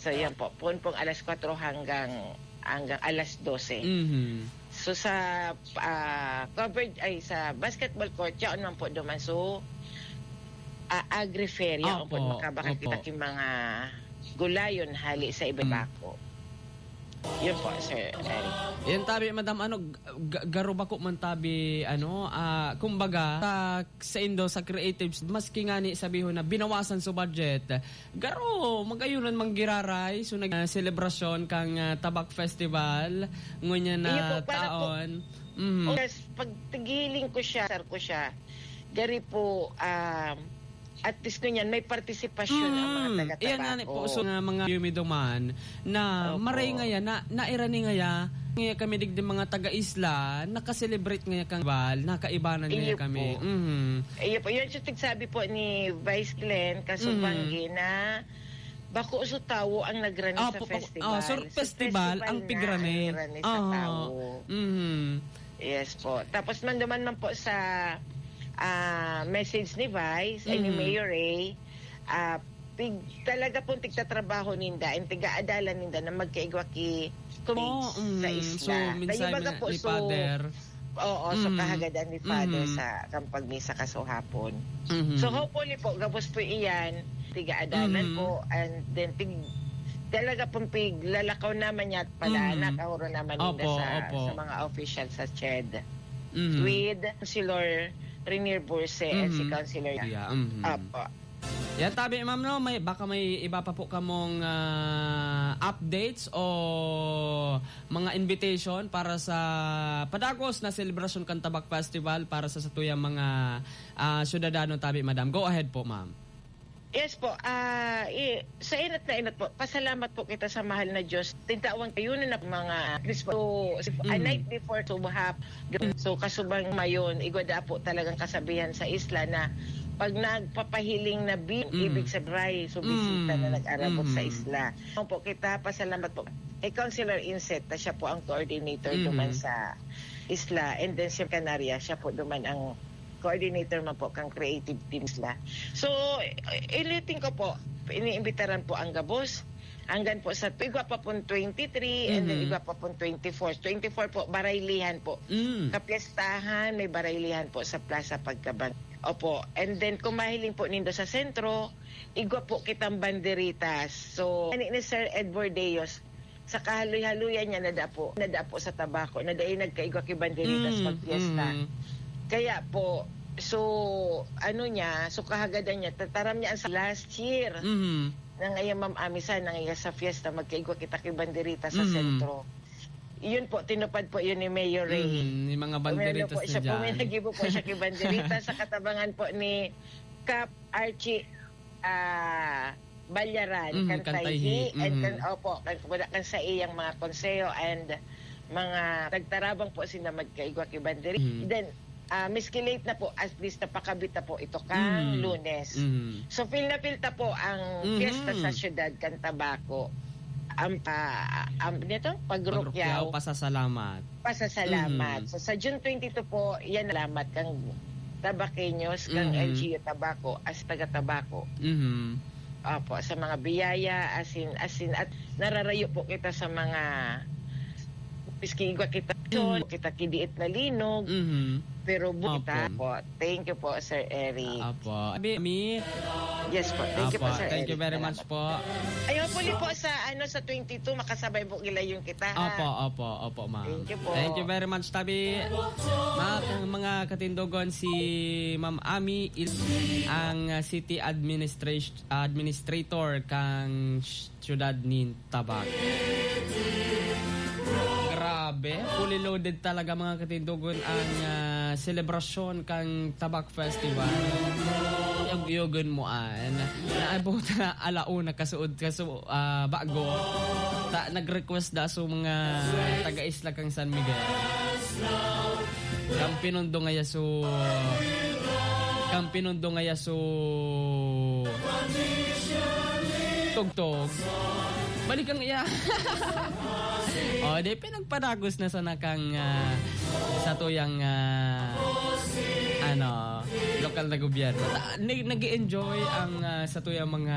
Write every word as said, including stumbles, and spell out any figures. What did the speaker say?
So, yan po. Poon pong alas kwatro hanggang, hanggang alas dose. Mhm. So, sa, ah, covered, ay, sa basketball court, yaon man po duman. So, ah, agri-fair, yaon Opo, po, makabakal opo. kita ki mga gulayon hali sa Mm. Ibabako. Yun po, Sir Eric. Yan tabi, Madam, ano, g-, g-, garo bako man tabi, ano, ah, kumbaga, sa, sa indo, sa creatives, maski ngani sabihon na binawasan sa budget, garo, magayunan man giraray, so nag-, ah, selebrasyon kang, ah, Tabak Festival, ngunyan na Iyo po, para po, taon. Mhm. oh, yes, pag tigiling ko siya, sir ko siya, gari po, um, at least ngunyan, may partisipasyon ang mga Mm, taga iyan nga ni Tabaco. po, so nga mga yumiduman na Opo. maray ngaya, na, nairani ngaya, ngaya kami digdi mga taga-isla, nakaselebrate ngaya kang bal, nakaibanan ngaya Iyo kami. po. Mhm. Iyo po, yun yung tigsabi po ni Vice Glenn Kasubanggi Mhm. na bako so tawo ang nagrani sa Opo, opo. festival. Ah, so So, festival festival ang na pigrani. ang nagrani sa Aha. tawo. Mhm. Yes po. Tapos man duman man po sa, ah, message ni Vice, ay, ni Mhm. Mayor Ray, ah, pig-, talaga pong tigtatrabaho ninda and tiga-adalan ninda na magkaigwa ki colleagues Oh, sa mm. isla. So, minsan Kaya baga na po, ni so, Father. oo, so Mhm. kahagadan ni Father Mhm. sa kang pagmisa kasuhapon. Mhm. So, hopefully po, gabos po iyan, tiga-adalan Mhm. po, and then tig-, talaga pong piglalakaw naman niya at pala, Mhm. nakahuro naman ninda Opo, sa, opo. sa mga official sa CHED. Mhm. With Councilor Renier Burse and si Mhm. Councilor Yeah, mhm. Opo. Yan, tabi, ma'am, no? May, baka may iba pa po kamong, ah, updates o mga invitation para sa padagos na selebrasyon kan Tabak Festival para sa satuyang mga, ah, syudadano, tabi, madam. Go ahead po, ma'am. Yes po. Ah, i-, sa inot na inot po, pasalamat po kita sa mahal na Diyos. Tintawan kayo na mga Kristo. So, a Mm. night before, so, hap-, so, kasubang mayon, igwa da po talagang kasabihan sa isla na pag nagpapahiling na bin, Mm. ibig sabihin, so, bisita na Mm. nag-arabot sa Mm. isla. Opo, kita, pasalamat po. Eh, Councilor Inset, na siya po ang coordinator Mm. duman sa isla. And then, si Canaria, siya po duman ang coordinator man po kang creative teams la. So, iliting ko po, iniimbitaran po ang gabos. Anggan po sa igwa pa pon twenty-three, and then Mhm. igwa pa pon twenty-four. Twenty-four po, baraylihan po. Mm. Kapiestahan, may baraylihan po sa Plaza Pagkabang. Opo. And then, kung mahiling po nindo sa sentro, igwa po kitang banderitas. So, ani ni Sir Edward Deos, sa kahaloy-haloyan niya, nadapo, nadapo sa Tabaco, na dai nagkaigwa ki banderitas Mm, pag fiesta. mm. Kaya po, so, ano niya, so kahagadan niya, tataram niya ang sa last year Mhm. na ngayon, Ma'am Ami, sa, na ngayon sa fiesta, magkaigwa kita ki banderitas sa Mhm. sentro. Yun po, tinupad po yun ni Mayor Ray. Mhm, yung mga Pumirano banderitas po na siya, dyan. puminagibo po siya ki banderitas sa katabangan po ni Kap Archie, ah, Balyaran, Mhm, kan Tayhi, Tayhi. and kan, Mhm. opo, kan, kan sa iyang mga konseho and mga nagtarabang po sinda magkaigwa ki banderi. Mhm. Then, ah, miski late na po, at least napakabit na po ito kang Mhm. Lunes. Mhm. So, feel na feel ta po ang Mhm. fiesta sa syudad kan Tabaco. Ang pa-, ang, nito, Pagrukyaw. Pagrukyaw, pasasalamat. Pasasalamat. Mhm. So, sa June twenty-two po, yan, salamat kang Tabaqueños, kang Mhm. L G U Tabaco, as taga Tabaco. Mhm. Opo, sa mga biyaya, as in, as in, at nararayo po kita sa mga, piski igwa kita, Mhm. kita kidiit na linog, Mhm. pero buta Opo. po. Thank you po, Sir Eric. Opo. Abi, mi- Yes po. Thank you Opo. po, Sir Thank you Eric. very Salamat. much po. Ay, hopefully po sa, ano, sa twenty-two, makasabay po gilayon kita, ha? Opo, opo, opo, ma'am. Thank you po. Thank you very much, tabi. Mga, mga katindogon, si Ma'am Ami, il-, ang, uh, city administration, administrator kang sh-, siyudad nin Tabac. Grabe, fully loaded talaga, mga katindogon, ang, ah, selebrasyon kan Tabac Festival. Yog-yogon mo an, naabot na alauna kasuod, kasu-, ah, bago. Ta, nag-request da so mga taga-isla kan San Miguel. Kan pinundo ngaya so, kan pinundo ngaya so tugtog. Balik ang iya. O, di, pinagpadagos na sana kang, ah, satuyang, ah, ano, lokal na gobyerno. Ta-, ni-, nag-e-enjoy ang, ah, satuyang mga